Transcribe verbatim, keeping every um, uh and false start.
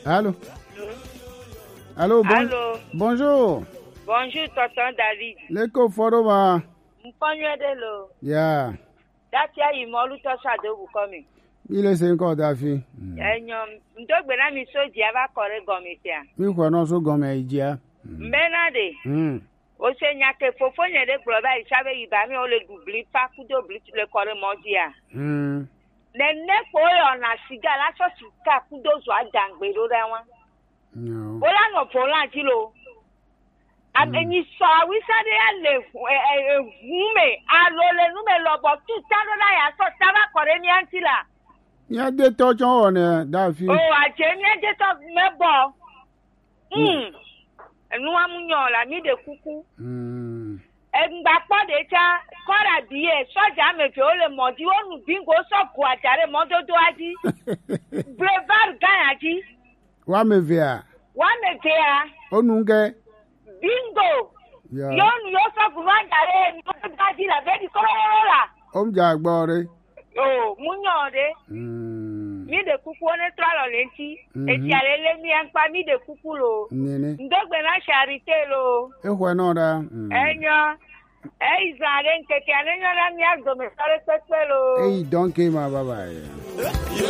Allô? Allô, bon- Allô? Bonjour. Bonjour, tonton David. Leko foro ma. Mkpɔnyɛ de lo. Yeah. Datia yi mɔlu tɔ sa do bu kɔmi. Mi le se nkɔ dafi. Mm. Enyo, ndo gbe na mi so jia va kɔre gɔmi tia. Mi kɔ no so gɔmi jia. Mm. Mbena de. Mm. O se nya ke fofo nye de gblɔ be yi sa be yi ba mi o le du bli pa kudo bli le kɔre mɔ jia. Mm. Nene kpo yɔ na siga la sɔ sika kudo zɔ adangbe ɖo ɖa wa. Bola nɔ volan dzi lo. Ame nyi sɔ awisa ɖe ya le ʋu- e- e- eʋu me alo le nu me lɔbɔ tu ta ɖo la ya sɔ ta va kɔ ɖe mía ŋuti la. Mía de tɔ tsɔ wɔ ne dafi. O adze mía de tɔ me bɔ. Hmm. Enua mu nyɔ la mi ɖe kuku. Mm. Egba kpɔ ɖe tsa kɔra biye sɔdza ame eve wo le mɔ dzi wo nu bingo sɔ go adza ɖe mɔdodoa dzi. Boulevard gã ya dzi. Wa me vea. Wa me vea. O nu ge. Bingo. Ya. Yo nu yo sɔ go adza ɖe mɔdodoa dzi la be di kɔrɔ la. O mu dza gbɔ ɖe. O mu nyɔ ɖe. Mm. Mi ɖe kuku ne trɔ alɔ le ŋuti. Mhm. Etia le le mi ankpa mi ɖe kuku lo. Nene. Ndo gbe na charité lo. Exɔe nɔ ɖa. Mm. Enyo. Eyi zã ɖe ŋkeke ne nyɔ na mía dome sɔ ɖe kpekpe lo. Eyi dɔnke ma baba ye.